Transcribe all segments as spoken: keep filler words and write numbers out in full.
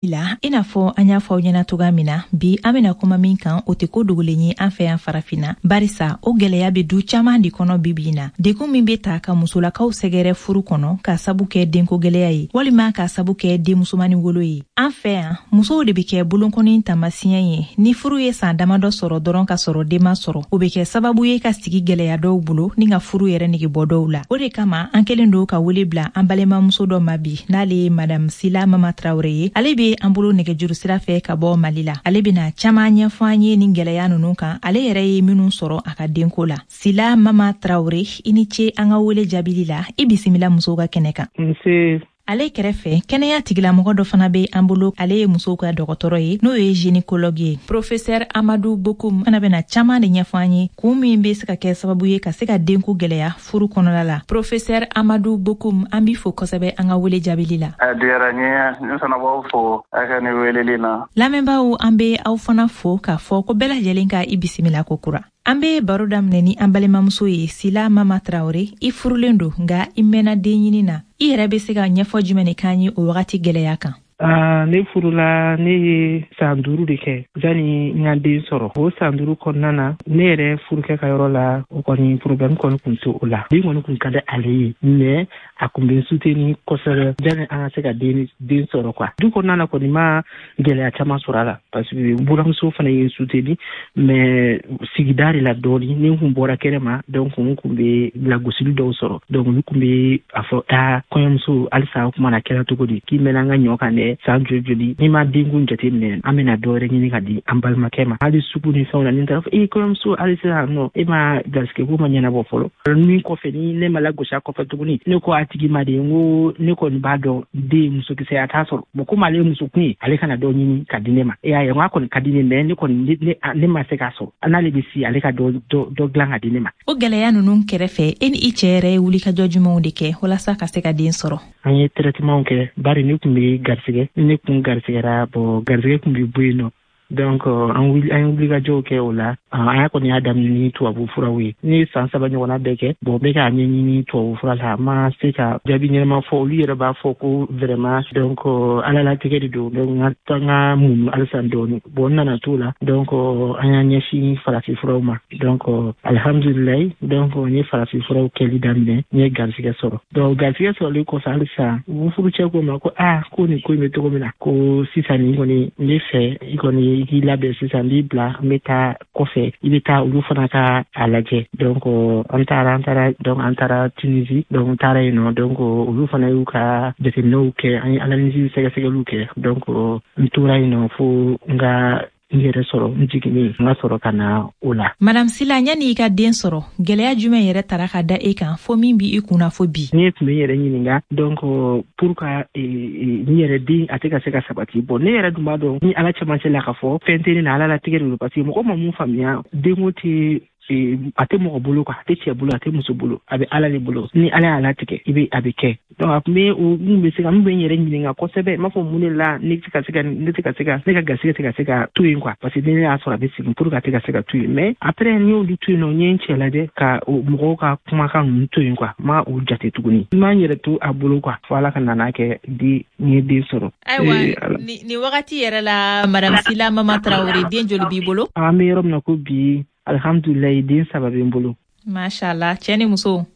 La i n'a fɔ an y'a fɔ aw ɲɛna cogoya min na, bi an bena kuma min kan, o tɛ ko dogolen ye an fɛ yan Farafinna, barisa o gwɛlɛya be du caaman de kɔnɔ bibi na. Degun min be ta ka musolakaw sɛgɛrɛ furu kɔnɔ k'a sabu kɛ denko gwɛlɛya ye, walima k'a sabu kɛ denmusomani wolo ye. An fɛ yan, musow de be kɛ bolonkɔni taamasiyɛn ye. Ni furu ye saan damadɔ sɔrɔ dɔrɔn ka sɔrɔ den ma sɔrɔ, o be kɛ sababu ye ka sigi gwɛlɛya dɔw bolo ni ka furu yɛrɛ nege bɔ dɔw la. O de kama an kelen don ka wele bila an balimamuso dɔ ma bi, n'ale ye Madame Sila Mama Tarawure ye. Ale be an bolo nɛgɛjuru sira fɛ ka bɔ Mali la. Ale bena caaman ɲɛfɔ an ye nin gwɛlɛya nunu kan, ale yɛrɛ ye minnu sɔrɔ a ka denko la. Sila Mama Tarawure, i ni ce an ka wele jaabili la. I bisimila musow ka kɛnɛ kan. Nse. Ale kɛrɛfɛ, kɛnɛya tigilamɔgɔ dɔ fana be an bolo. Ale ye musow ka dɔgɔtɔrɔ ye, n'o ye gynécologue ye, Professeur Amadu Bokum fana bena caaman de ɲɛfɔ an ye, kun min be se ka kɛ sababu ye ka se ka denko gwɛlɛya furu kɔnɔla la. Professeur Amadu Bokum, an b'i fo kosɛbɛ an ka wele jaabili la. A diyara n ye, ne fana b'aw fo a ka ni weleli na. Lamɛnbaaw, an be aw fana fo k'a fɔ ko bɛɛ lajɛlen ka i bisimila ko kura. An be baro daminɛ ni an balimamuso ye, Sila Mama Tarawure. I furulen don, nka i mɛnna den ɲini na. I yɛrɛ be se ka ɲɛfɔ jumɛn de k'an ye o wagati gwɛlɛya kan? Uh, ne furula, ne ye san duuru de kɛ jani n ka den sɔrɔ. O san duuru kɔnɔna na, ne yɛrɛ furukɛ ka yɔrɔ la, o kɔni problème kɔni kun tɛ o la. Den kɔni kun ka di ale ye, mais a kun bɛ n soutenir kosɛbɛ jani an ka se ka den den sɔrɔ quoi. Du kɔnɔna na kɔni, ma gɛlɛya caman sɔrɔ a la, parce que buramuso fana ye n soutenir, mais sigida de la dɔɔni, ni n kun bɔra kɛnɛ ma, donc n kun bɛ lagosili dɔw sɔrɔ. Donc olu kun bɛ a fɔ: aa, kɔɲɔmuso, halisa o kuma na kɛra cogo di k'i mɛnna an ka ɲɔ kan dɛ, san joli joli, n'i ma denkun jateminɛ, an bɛna dɔ wɛrɛ ɲini ka di an balimakɛ ma. Hali sugu ni fɛnw na, ni taara fɔ e kɔɲɔmuso, hali sisan nɔ e ma garisɛgɛ ko ma ɲɛnabɔ fɔlɔ. Min kɔfɛ, ni ne ma lagosi a kɔfɛ tuguni, ne ko a tigi ma de, n ko ne kɔni b'a dɔn den musokisɛ a t'a sɔrɔ. Bon, komi ale ye musokun ye, ale kana dɔ ɲini ka di ne ma. E y'a ye, n k'a kɔni ka di ne, mais ne kɔni ne ne ma se k'a sɔrɔ. N'ale bɛ si, ale ka dɔ dɔ dɔ dilan ka di ne ma. O gɛlɛya ninnu kɛrɛfɛ, e ni i cɛ yɛrɛ ye wulikajɔ jumɛnw de kɛ walasa ka se ka den sɔrɔ? An ye traitement kɛ, bari ne kun bɛ garisɛgɛ, ne kun garisɛgɛra. Bon, garisɛgɛ kun bɛ bɔ yen nɔ. Donc an wuli, an ye wulikajɔw kɛ o la. An y'a kɔni y'a daminɛ ni tubabu furaw ye. Ne ye san saba ɲɔgɔnna bɛɛ kɛ. Bon, n bɛ k'a ɲɛɲini tubabu fura la, a ma se ka jaabi ɲɛnama fɔ. Olu yɛrɛ b'a fɔ ko vraiment, donc Ala latigɛ de don. Donc n ka n ka muɲu halisa dɔɔni. Bon, n nana t'o la. Donc an y'an ɲɛsin farafin furaw ma. Donc alihamudulilayi, donc n ye farafin furaw kɛli daminɛ, n ye garisɛgɛ sɔrɔ. Donc garisɛgɛ sɔrɔlen kɔfɛ, halisa n furucɛ ko ma ko aa, ko nin ko in bɛ cogo min na, ko sisan nin kɔni, n bɛ fɛ i kɔni i k'i labɛn sisan, n b'i bila, n bɛ taa kɔfɛ, i bɛ taa olu fana ka a lajɛ. Donc an taara an taara donc an taara Tunisie. Donc n taara yen nɔ, donc olu fana y'u ka jateminɛw kɛ, an ye analyse sɛgɛsɛgɛliw kɛ. Donc n tora yen nɔ fo n ka n yɛrɛ sɔrɔ, n jiginnen, n ka sɔrɔ ka na o la. Madame Sila, yanni i ka den sɔrɔ, gwɛlɛya jumɛn yɛrɛ tara ka da e kan fo min b'i kunna fo bi? Ne tun bɛ n yɛrɛ ɲininka, donc pour ka n yɛrɛ den a tɛ ka se ka sabati. Bon, ne yɛrɛ dun b'a dɔn ni Ala cɛmancɛ la k'a fɔ fɛn tɛ ne na, Ala latigɛ de don, parce que mɔgɔ ma mun faamuya, denko tɛ, a tɛ mɔgɔ bolo quoi, a tɛ cɛ bolo, a tɛ muso bolo, a bɛ Ala de bolo. Ni Ala y'a latigɛ, i bɛ a bɛ kɛ. Donc a tun bɛ o mun bɛ se ka mun bɛ n yɛrɛ ɲininka kosɛbɛ, n b'a fɔ mun de la ne tɛ ka se ka ne tɛ ka se ka ne ka garisɛgɛ tɛ ka se ka to yen quoi, parce que ni ne y'a sɔrɔ, a bɛ segin pour que a tɛ ka se ka to yen. Mais après, n y'olu to yen nɔ, n ye n cɛ lajɛ ka mɔgɔw ka kumakan ninnu to yen quoi, n ma o jate tuguni, n m'an yɛrɛ to a bolo quoi, fo Ala ka nana kɛ di n ye den sɔrɔ. Ayiwa, nin wagati yɛrɛ la, Madame Sila Mama Tarawele, den joli b'i bolo? An bɛ yɔrɔ min na ko bi, alihamudulilayi, den saba bɛ n bolo. Mashallah, cɛ ni muso?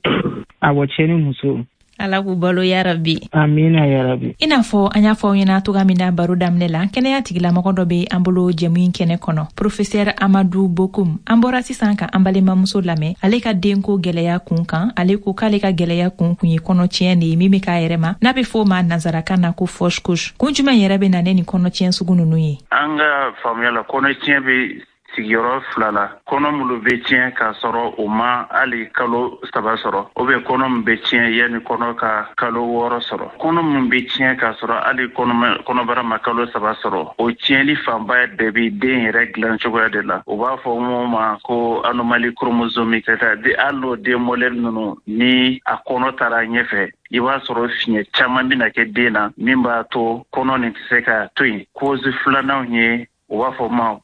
Awɔ, cɛ ni muso. Ala k'u balo yarabi. Amina yarabi. I n'a fɔ an y'a fɔ aw ɲɛna cogoya min na baro daminɛ la, kɛnɛya tigilamɔgɔ dɔ be an bolo jɛmu in kɛnɛ kɔnɔ, Professeur Amadu Bokum. An bɔra sisan ka an balimamuso lamɛn, ale ka denko gwɛlɛya kun kan. Ale ko k'ale ka gwɛlɛya kun kun ye kɔnɔtiɲɛ de ye min be k'a yɛrɛ ma, n'a be fɔ o ma nansarakan na ko fausse couche. Kun jumɛn yɛrɛ be na ne nin kɔnɔtiɲɛ sugu nunu ye? An ka faamuya la, kɔnɔtiɲɛ be sigiyɔrɔ fila la: kɔnɔ minnu bɛ tiɲɛ k'a sɔrɔ o ma hali kalo saba sɔrɔ, o bɛ kɔnɔ min bɛ tiɲɛ yanni kɔnɔ ka kalo wɔɔrɔ sɔrɔ. Kɔnɔ min bɛ tiɲɛ k'a sɔrɔ hali kɔnɔbara ma kalo saba sɔrɔ, o tiɲɛli fanba bɛɛ bɛ den yɛrɛ dilan cogoya de la. U b'a fɔ mun ma ko anomalie chromosomique, c'est-à-dire hali n'o den modèle ninnu, ni a kɔnɔ taara ɲɛfɛ, i b'a sɔrɔ fiɲɛ caman bɛna kɛ den na min b'a to kɔnɔ nin tɛ se ka to yen. Cause filanan ye, u b'a fɔ ma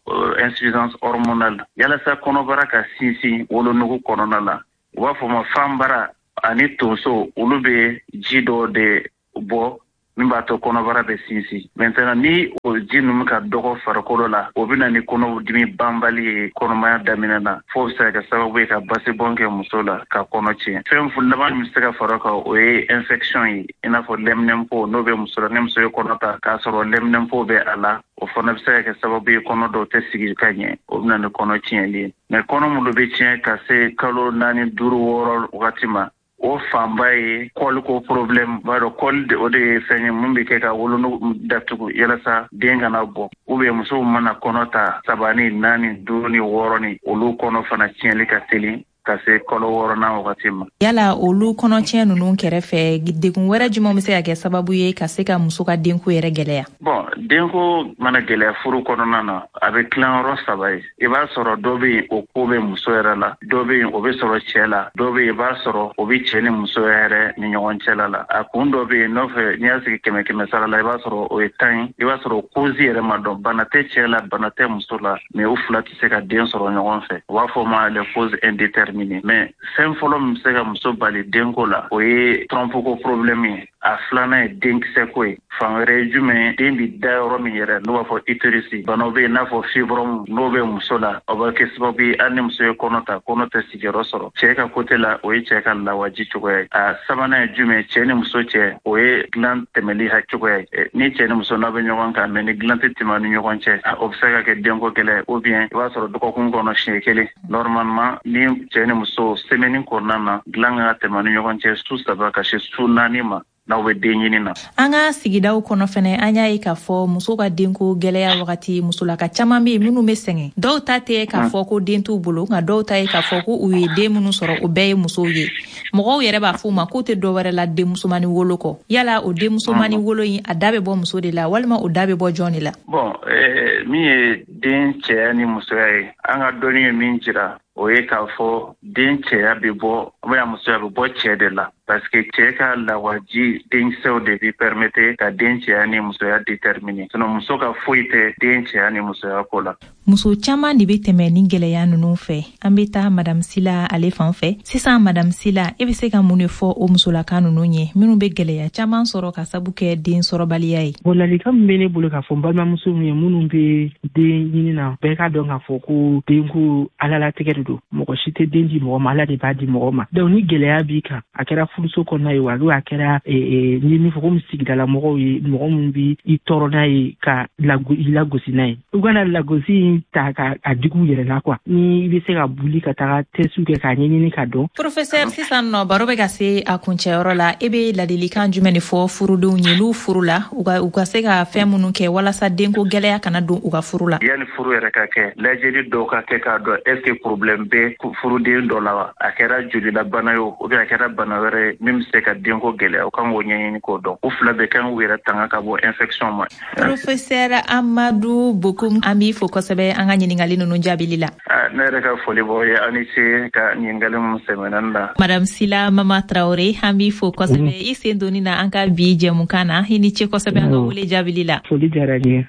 insuffisance hormonale. Yalasa kɔnɔbara ka sinsin wolonugu kɔnɔna la, u b'a fɔ ma fanbara ani tonso, olu bɛ ji dɔ de bɔ. min b'a to kɔnɔbara bɛ sinsin. Maintenant ni o ji ninnu ka dɔgɔ farikolo la, o bɛ na ni kɔnɔdimi banbali ye kɔnɔmaya daminɛ na, f'o bɛ se ka kɛ sababu ye ka basibɔn kɛ muso la ka kɔnɔ tiɲɛ. Fɛn laban min bɛ se ka fara o kan, o ye infection ye, i n'a fɔ lɛminɛnpo n'o bɛ muso la. Ni muso ye kɔnɔ ta k'a sɔrɔ lɛminɛnpo bɛ a la, o fana bɛ se ka kɛ sababu ye kɔnɔ dɔw tɛ sigi ka ɲɛ, o bɛ na ni kɔnɔ tiɲɛli ye. Mais kɔnɔ minnu bɛ tiɲɛ ka se kalo naani, duuru, wɔɔrɔ wagati ma, o fanba ye kɔliko problème. B'a dɔn kɔli o de ye fɛn ye mun bɛ kɛ ka wolonugu datugu yalasa den kana bɔ. Ou bien musow mana kɔnɔ ta saba ni naani, duuru ni wɔɔrɔ ni, olu kɔnɔ fana tiɲɛli ka teli ka se kalo wɔɔrɔnan wagati ma. Yala olu kɔnɔtiɲɛ ninnu kɛrɛfɛ, degun wɛrɛ jumɛn bɛ se ka kɛ sababu ye ka se ka muso ka denko yɛrɛ gɛlɛya? Bon, denko mana gɛlɛya furu kɔnɔna na, a bɛ tilan yɔrɔ saba ye. I b'a sɔrɔ dɔ bɛ yen, o ko bɛ muso yɛrɛ la, dɔ bɛ yen, o bɛ sɔrɔ cɛ la, dɔ bɛ yen, i b'a sɔrɔ o bɛ cɛ ni muso yɛrɛ ni ɲɔgɔn cɛla la. A kun dɔ bɛ yen nɔfɛ, n'i y'a sigi kɛmɛ kɛmɛ sara la, i b'a sɔrɔ o ye tan ye. I b'a sɔrɔ o cause yɛrɛ ma dɔn, bana tɛ cɛ la, bana tɛ muso la, mais u fila tɛ se ka den sɔrɔ ɲɔgɔn fɛ. U b'a fɔ o ma les causes indéterminées. Mais fɛn fɔlɔ min bɛ se ka muso bali denko la, o ye trompe ko problème ye. A filanan ye denkisɛ ko ye. Fan wɛrɛ ye jumɛn ye? Den bɛ da yɔrɔ min yɛrɛ, n'o b'a fɔ utérus, banaw bɛ yen n'a fɔ fibrome, n'o bɛ muso la, o bɛ kɛ sababu ye hali ni muso ye kɔnɔ ta, kɔnɔ tɛ sigiyɔrɔ sɔrɔ. Cɛ ka côté la, o ye cɛ ka lawaji cogoya ye. A sabanan ye jumɛn ye? Cɛ ni muso cɛ, o ye dilan tɛmɛli ha cogoya ye. Ni cɛ ni muso n'a bɛ ɲɔgɔn kan, mais ni dilan tɛ tɛmɛ ni ɲɔgɔn cɛ, o bɛ se ka kɛ denko gɛlɛya. Ou bien i b'a sɔrɔ dɔgɔkun kɔnɔ siɲɛ kelen. Normalement ni cɛ ni muso, semaine kɔnɔna na, dilan kan ka tɛmɛ ni ɲɔgɔn cɛ su saba ka se su naani ma n'aw bɛ den ɲini na. An ka sigidaw kɔnɔ fɛnɛ, an y'a ye k'a fɔ muso ka denko gɛlɛya wagati, musolaka caman bɛ yen minnu bɛ sɛgɛn. Dɔw ta tɛ k'a fɔ ko den t'u bolo, nka dɔw ta ye k'a fɔ ko u ye den minnu sɔrɔ, o bɛɛ ye musow ye. Mɔgɔw yɛrɛ b'a fɔ u ma k'u tɛ dɔ wɛrɛ la denmusomani wolo kɔ. Yala o denmusomani wolo in, a da bɛ bɔ muso de la walima o da bɛ bɔ jɔn de la? Bon, eh, min ye den cɛya ni musoya ye, an ka dɔnni ye min jira, o ye k'a fɔ den cɛya bɛ bɔ ou bien musoya bɛ bɔ cɛ de la, parce que cɛ ka lawaji denkisɛw de bi permettre ka den cɛya ni musoya déterminer. Sinon muso ka foyi tɛ den cɛya ni musoya ko la. Muso caman de bɛ tɛmɛ ni gɛlɛya ninnu fɛ. An bɛ taa Madame Sila ale fan fɛ sisan. Madame Sila, e bɛ se ka mun de fɔ o musolaka ninnu ye minnu bɛ gɛlɛya caman sɔrɔ ka sabu kɛ den sɔrɔbaliya ye? Bon, ladilikan min bɛ ne bolo k'a fɔ n balimamuso ye minnu bɛ den ɲini na, bɛɛ k'a dɔn k'a fɔ ko denko Ala latigɛ de don. Mɔgɔ si tɛ den di mɔgɔ ma, Ala de b'a di mɔgɔ ma. Donc ni gɛlɛya b'i kan, a kɛra furuso kɔnɔna ye wa, a kɛra ni min fɔ komi sigidala mɔgɔw ye, mɔgɔ minnu bɛ i tɔɔrɔ n'a ye ka i lagosi n'a ye, u kana lagosi in ta ka a digi u yɛrɛ la quoi. Ni i bɛ se ka buli ka taga test kɛ k'a ɲɛɲini ka dɔn. Professeur, sisan nɔ baro bɛ ka se a kuncɛyɔrɔ la, e bɛ ladilikan jumɛn de fɔ furudenw ye n'u furu la, u ka u ka se ka fɛn minnu kɛ walasa denko gɛlɛya kana don u ka furu la? Yanni furu yɛrɛ ka kɛ, lajɛli dɔw ka kɛ k'a dɔn est ce que problème bɛ furuden dɔ la wa, a kɛra jolilabana ye o, ou bien a kɛra bana wɛrɛ ye min bɛ se ka denko gɛlɛya, o kan k'o ɲɛɲini k'o dɔn. U fila bɛɛ kan k'u yɛrɛ tanga ka bɔ infection ma. Professeur Amadu Bokum, an b'i fo kosɛbɛ an ka ɲininkali ninnu jaabili la. Ne yɛrɛ ka foli b'aw ye, aw ni ce ka ɲininkali minnu sɛmɛna ne la. Madame Sila Mama Traoré, an b'i fo kosɛbɛ i sen donni na an ka bi jɛmukan na. I ni ce kosɛbɛ an ka wele jaabili la. Foli diyara n ye.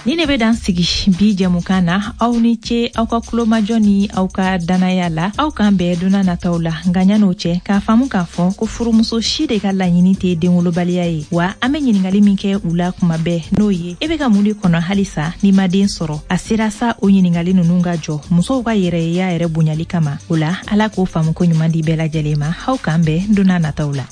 Ni ne bɛ dan sigi bi jɛmukan na. Aw ni ce aw ka kulomajɔ ni aw ka danaya la. Aw k'an bɛn donna nataw la. Nka ɲan'o cɛ, k'a faamu k'a fɔ ko furumuso si de ka laɲini tɛ denwolobaliya ye wa, an bɛ ɲininkali min kɛ u la kuma bɛɛ, n'o ye e bɛ ka mun de kɔnɔ halisa n'i ma den sɔrɔ, a sera sa o ɲininkali ninnu ka jɔ musow ka yɛrɛyeya yɛrɛ bonyali kama. O la, Ala k'o faamu ko ɲuman di bɛɛ lajɛlen ma. Aw k'an bɛn donna nataw la.